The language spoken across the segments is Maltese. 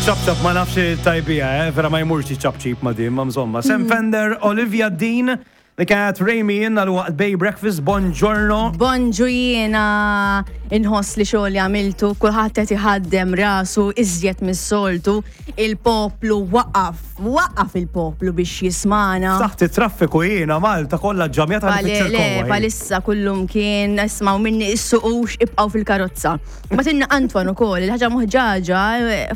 Ċap ċap ma nafx tajbija, eh? Vera ma jmurx ċap ċip ma din, ma mżomma. Sam Fender, Olivia Dean, li kienet Remy in għal waqt Bay Breakfast, buongiorno. Bonġu jiena inħoss li xogħol għamiltu, kulħadd qed iħaddem rasu iżjed mis-soltu, il-poplu waqaf, waqaf il-poplu biex jismana. Taħt it-traffiku jiena Malta kollha ġamja tal Le, palissa kullum kien, ismaw minni issuqux ibqgħu fil-karozza. Ma tinna Antoine ukoll, il-ħaġa moħġaġa,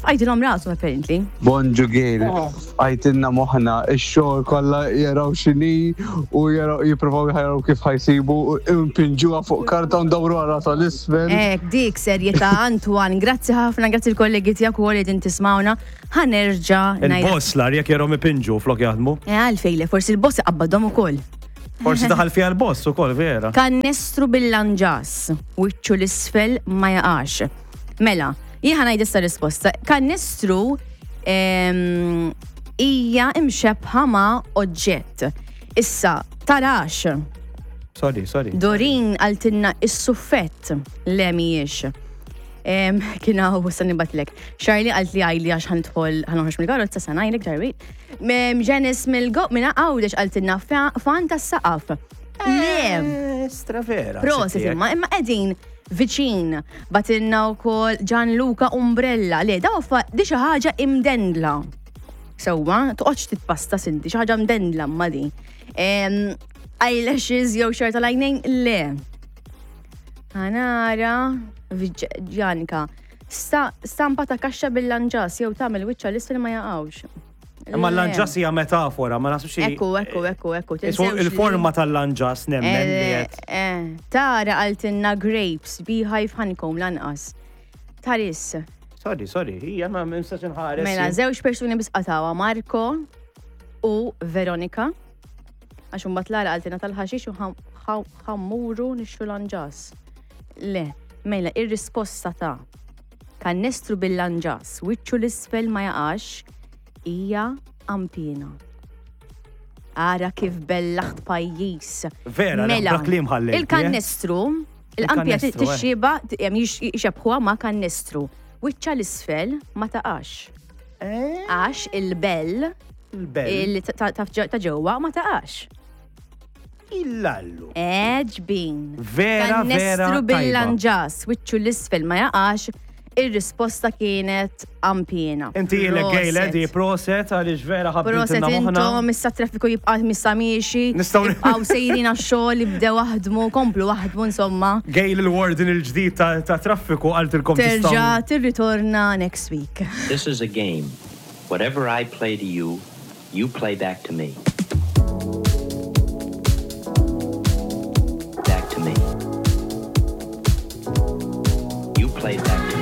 fqajtilhom rasu apparently. Bonġu Gail, fqajtilna moħħna, ix-xogħol kollha jaraw x'inhi u jaraw jippruvaw jaraw kif ħa jsibu u npinġuha fuq karta u ndawruha rasha 'l isfel. Hekk, dik serjetà Antoine, grazzi ħafna, grazzi l-kollegi tiegħek ukoll li qegħdin tismawna. Ħa nerġa' ngħid. Il-boss l-agħar jekk jarahom ipinġu flok jaħdmu. Eh għalfejn le, forsi l-boss iqabbadhom ukoll. Forsi daħal fiha l-boss ukoll vera. Kannestru bil-lanġas, wiċċu l-isfel ma jaqax. Mela, jien ħa ngħid issa risposta. Kannestru ehm, hija imxebħa ma' oġġett. Issa, tarax. Sorry, sorry. Dorin għaltinna is-suffett le mhijiex. Ehm, kien hawn sa nibatlek. Charlie qalt li għajli għax ħandħol ħanoħroġ mill-karozza sa ngħidlek ġarbi. Janice mill-go minn Għawdex qaltilna fan tas-saqaf. Le. Eh, stra vera. Prosit imma imma qegħdin viċin. Batilna wkoll Gianluca Umbrella. Le, daw di xi ħaġa imdendla. Sewwa, toqgħodx titpasta sinti, xi ħaġa mdendla ma di. Eyelashes jew xar tal-għajnejn, le. Ħanara, Ġanka. Stampa ta' kaxxa bil-lanġas jew tagħmel wiċċha l-isfel ma jaqgħux. Imma l-lanġas hija metafora, ma nasibx. Ekku, ekku, ekku, ekku. Il-forma tal-lanġas nemmen li eh, qed. Eh, tara qaltilna grapes, beehive honeycomb lanqas. Taris. Sorry, sorry, hija ma nistax inħares. Mela, żewġ persuni biss qatgħuha, Marco u Veronika. Għax imbagħad Lara qaltilna tal-ħaxix u ħammuru nixtru lanġas. Le, mela ir-risposta ta' kannestru bil-lanġas wiċċu l-isfel ma jaqax hija qanpiena. Ara kif bellaħt pajjiż. Vera, mela, kliem ħallejt. Eh? Il-kannestru, il-qampija eh. tixxiba, jxebħuha ma' kannestru. Wiċċa l-isfel ma taqax. Eh? Għax il-bell Il-bell. Ta' ġewwa ma taqax. Illallu. Eġbin. Vera, vera. Kannestru bil-lanġas, wiċċu l-isfel ma jaqax, ir-risposta kienet ampjena. Inti ilek gejle di proset għaliex vera ħabbit. Proset intom, issa traffiku jibqa' missa miexi. Nistgħu nibqgħu sejrin għax-xogħol, ibdew aħdmu, komplu aħdmu insomma. Gejl il-warden il-ġdid ta' traffiku qaltilkom Terġa' tirritorna next week. This is a game. Whatever I play to you, you play back to me. Back to me. You play back to me.